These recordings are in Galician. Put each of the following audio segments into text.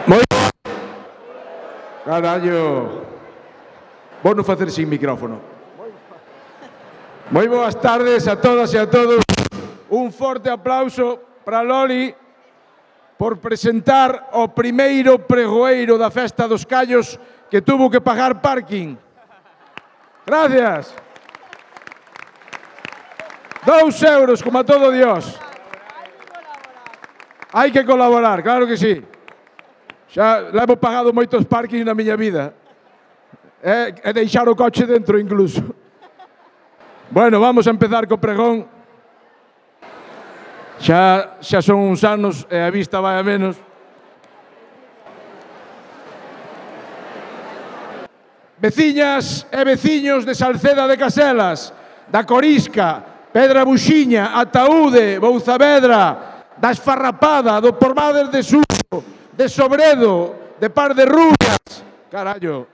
Moi boa... Carallo. Vou non facer sin micrófono. Moi boas tardes a todas e a todos. Un forte aplauso para Loli por presentar o primeiro pregoeiro da Festa dos Callos que tuvo que pagar parking. Gracias. 2 euros, como a todo Dios. Hai que colaborar, claro que sí. Xa levo pagado moitos parkings na miña vida. E deixar o coche dentro incluso. Bueno, vamos a empezar co pregón. Xa son uns anos e a vista vai a menos. Veciñas e veciños de Salceda de Caselas, da Corisca, Pedra Buxiña, Ataúde, Bouzavedra, da Esfarrapada, do Pormades de Suso, de Sobredo, de Par de Rubias. Carallo.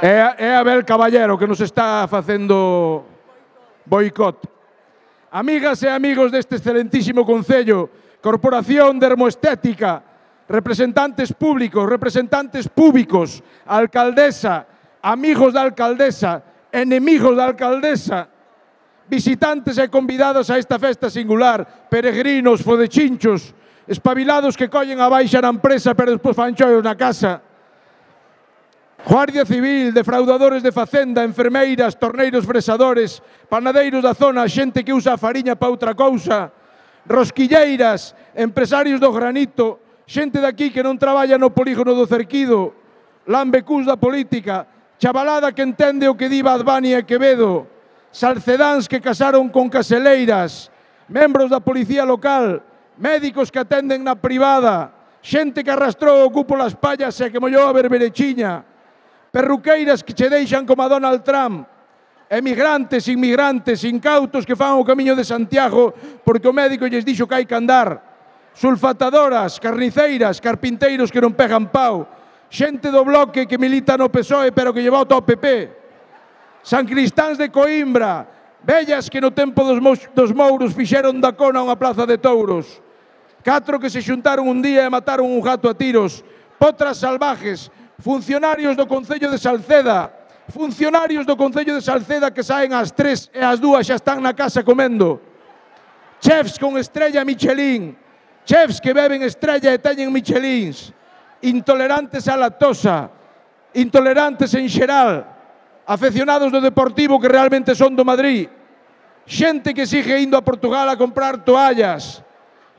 É Abel Caballero que nos está facendo boicot. Amigas e amigos deste excelentísimo concello, Corporación Dermoestética, representantes públicos, representantes públicos, alcaldesa, amigos da alcaldesa, enemigos da alcaldesa, visitantes e convidados a esta festa singular, peregrinos, fodechinchos, espabilados que collen a baixa na empresa pero despois fan choios na casa, Guardia Civil, defraudadores de facenda, enfermeiras, torneiros fresadores, panadeiros da zona, xente que usa a fariña para outra cousa, rosquilleiras, empresarios do granito, xente daqui que non traballa no polígono do Cerquido, lambecús da política, chavalada que entende o que di Bad Bunny e Quevedo, salcedáns que casaron con caseleiras, membros da policía local, médicos que atenden na privada, xente que arrastrou o cupo las pallas e que mollou a berberechiña, perruqueiras que che deixan como a Donald Trump, emigrantes, inmigrantes, incautos que fan o camiño de Santiago porque o médico lles dixo que hai que andar, sulfatadoras, carniceiras, carpinteiros que non pegan pau, xente do bloque que milita no PSOE pero que lle vota ao PP, San Cristáns de Coimbra, vellas que no tempo dos mouros fixeron da Cona unha plaza de touros, 4 que se xuntaron un día e mataron un gato a tiros, potras salvajes, funcionarios do Concello de Salceda, funcionarios do Concello de Salceda que saen ás 3 e ás 2 xa están na casa comendo, chefs con estrella Michelin, chefs que beben estrella e teñen Michelins, intolerantes á lactosa, intolerantes en xeral, afeccionados do Deportivo que realmente son do Madrid, xente que sigue indo a Portugal a comprar toallas,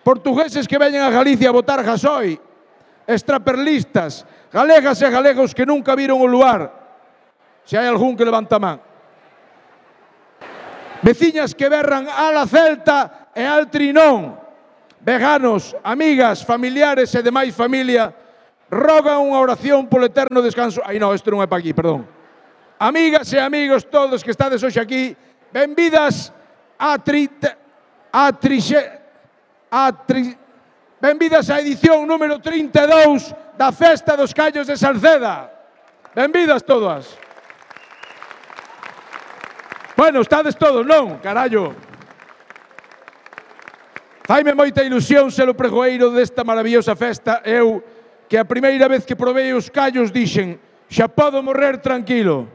portugueses que veñen a Galicia a botar gasoil, extraperlistas, galegas e galegos que nunca viron o luar. Se hai algún que levanta a man. Veciñas que berran ala Celta e al Trinón. Veganos, amigas, familiares e demais familia rogan unha oración polo eterno descanso. Ai non, isto non é para aquí, perdón. Amigas e amigos todos que estades hoxe aquí, benvidas benvidas á edición número 32 da Festa dos Callos de Salceda. Benvidas todas. Bueno, estades todos, non? Carallo. Faime moita ilusión ser o pregoeiro desta maravillosa festa. Eu, que a primeira vez que probei os callos dixen, xa podo morrer tranquilo.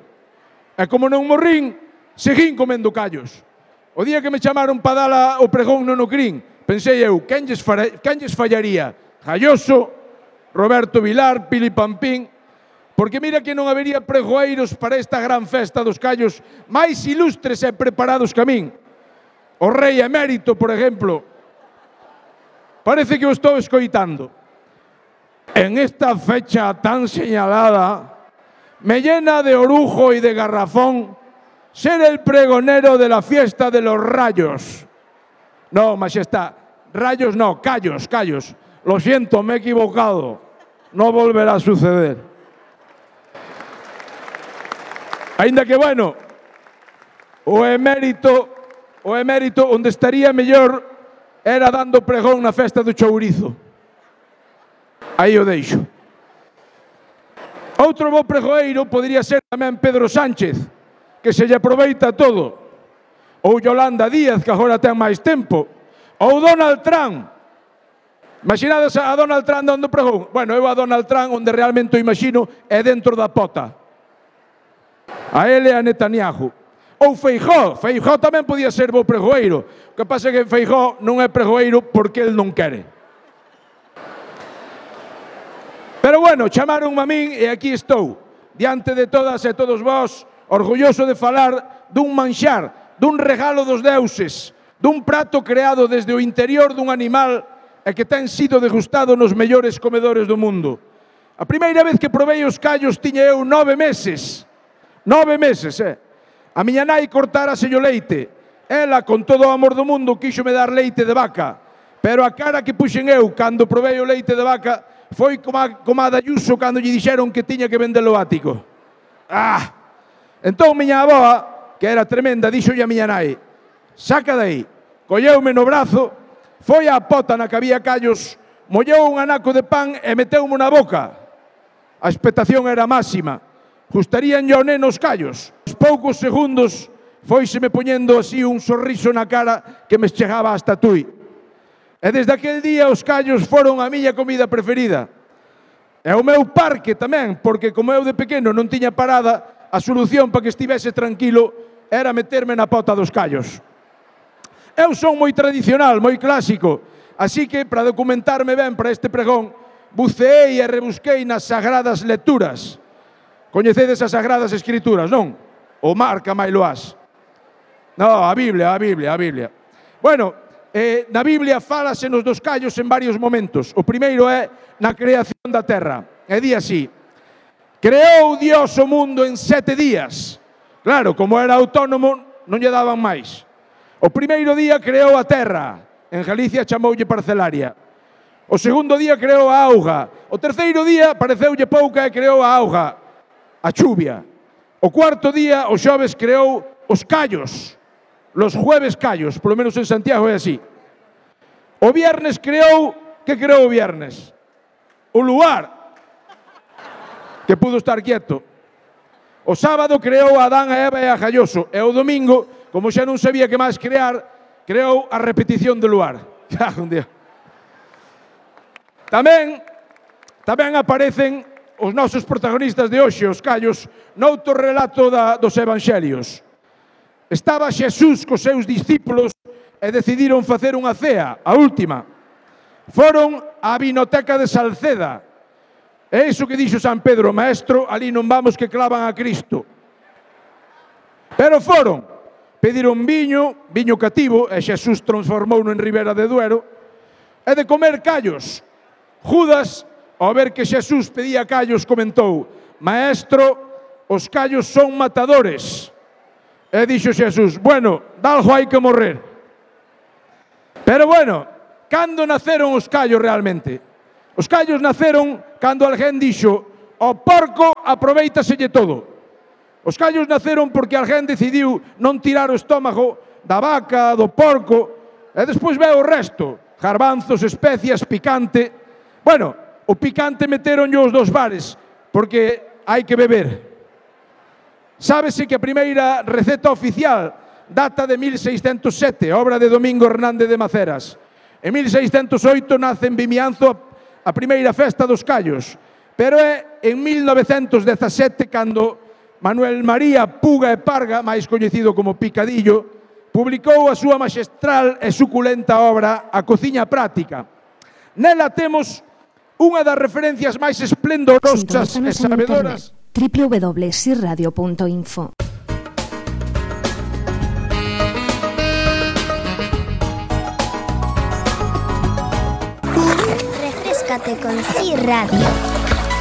E como non morrín, seguín comendo callos. O día que me chamaron para dar o pregón no Nocrín, pensei eu, quen lles fallaría? Galloso, Roberto Vilar, Pili Pampín, porque mira que non habería pregoeiros para esta gran festa dos callos máis ilustres e preparados que a min. O rei emérito, por exemplo, parece que o estou escoitando. En esta fecha tan señalada, me llena de orujo y de garrafón ser el pregonero de la fiesta de los rayos. No, majestad, rayos no, callos. Lo siento, me he equivocado. No volverá a suceder. Ainda que, bueno, o emérito onde estaría mellor era dando pregón na festa do chourizo. Aí o deixo. Outro bo pregoeiro podría ser tamén Pedro Sánchez, que se lle aproveita todo. Ou Yolanda Díaz, que agora ten máis tempo. Ou Donald Trump. Imaginades a Donald Trump dando pregón. Bueno, eu a Donald Trump onde realmente o imagino é dentro da pota. A ele e a Netanyahu. Ou Feijóo. Feijóo tamén podía ser bo pregoeiro. O que pasa é que Feijóo non é pregoeiro porque el non quere. Pero bueno, chamaronme a min e aquí estou, diante de todas e todos vós, orgulloso de falar dun manxar, dun regalo dos deuses, dun prato creado desde o interior dun animal e que ten sido degustado nos mellores comedores do mundo. A primeira vez que probei os callos tiña eu 9 meses. 9 meses, A miña nai cortáraselle o leite. Ela, con todo o amor do mundo, quíxome dar leite de vaca. Pero a cara que puxen eu cando probei o leite de vaca foi como a da Ayuso cando lle dixeron que tiña que vender o ático. Entón miña avoa, que era tremenda, dixolle a miña nai: saca dai. Colleume no brazo, foi á pota na que había callos, mollou un anaco de pan e meteumo na boca. A expectación era máxima. Gustaríanlle ao neno os callos. Aos poucos segundos foiseme poñendo así un sorriso na cara que me chegaba hasta tui. E desde aquel día os callos foron a miña comida preferida. E o meu parque tamén, porque como eu de pequeno non tiña parada, a solución para que estivese tranquilo era meterme na pota dos callos. Eu son moi tradicional, moi clásico, así que para documentarme ben para este pregón, buceei e rebusquei nas sagradas lecturas. Coñecedes as Sagradas Escrituras, non? O marca Mailoás. No, a Biblia. Bueno, na Biblia fálase nos dos callos en varios momentos. O primeiro é na creación da terra. E di así: creou Dios o mundo en 7 días. Claro, como era autónomo, non lle daban máis. O primeiro día creou a terra. En Galicia chamoulle parcelaria. O segundo día creou a auga. O terceiro día pareceulle pouca e creou a auga. A chuvia. O cuarto día, o xoves, creou os callos. Los jueves callos, polo menos en Santiago é así. O viernes creou, que creou o viernes? O luar, que pudo estar quieto. O sábado creou a Adán, a Eva e a Galloso. E o domingo, como xa non sabía que máis crear, creou a repetición do luar. Tamén aparecen os nosos protagonistas de hoxe, os callos, noutro relato dos Evangelios. Estaba Xesús cos seus discípulos e decidiron facer unha cea, a última. Foron á vinoteca de Salceda. É iso que dixo San Pedro: maestro, ali non vamos que clavan a Cristo. Pero foron, pediron viño cativo, e Xesús transformouno en Ribera de Duero, e de comer callos. Judas, ao ver que Xesús pedía callos, comentou: maestro, os callos son matadores. E dixo Xesús: bueno, dalgo hai que morrer. Pero bueno, cando naceron os callos realmente? Os callos naceron cando alguén dixo: o porco aproveitaselle todo. Os callos naceron porque alguén decidiu non tirar o estómago da vaca, do porco, e despois veo o resto: garbanzos, especias, picante. Bueno, o picante meteronlle os dos bares, porque hai que beber. Sábese que a primeira receta oficial data de 1607, obra de Domingo Hernández de Maceras. En 1608 nace en Vimianzo a primeira festa dos callos, pero é en 1917 cando Manuel María Puga e Parga, máis coñecido como Picadillo, publicou a súa maxestral e suculenta obra A Cociña Práctica. Nela temos unha das referencias máis esplendorosas e sabedoras www.sirradio.info. Refréscate con Sir Radio.